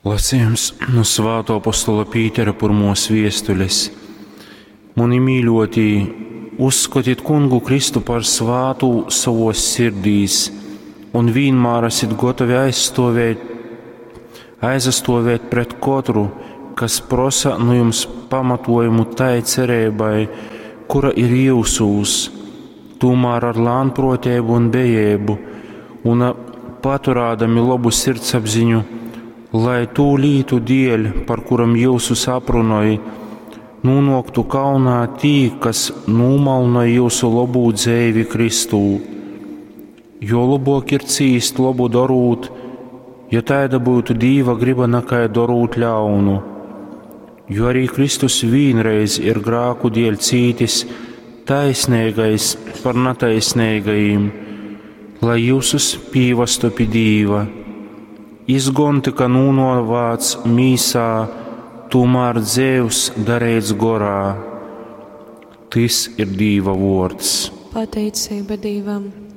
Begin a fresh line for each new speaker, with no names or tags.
Lasījums nu Svātō apostola Pītera pyrmōs viestules. Muni mīļotī, uzskotit Kungu Kristu par svātū sovos sirdīs un vīnmār esit gotovi aizstovēt, aizastovēt pret kotru, kas prosa nu jums pamatojumu tai cereibai, kura ir jūsūs, tūmār ar lānproteibu un bejeibu un paturādami lobu sirdsapziņu, lai tū lītu dēļ, par kuram jyusus aprunoj, nūnoktu kaunā tī, kas nūmalnoj jūsu lobū dzeivi Kristū. Jo lobok ir cīst lobu dorūt, ja taida būtu Dīva griba nakai dorūt ļaunu. Jo arī Kristus vīnreiz ir grāku dēļ cītis, taisnīgais par nataisnīgajiem, lai jūsus pīvastu pi Dīva. Izgon tika nūnovāts mīsā, tomēr dzēvs darīts gorā. Tys ir Dīva vārds.
Pateicība Dīvam!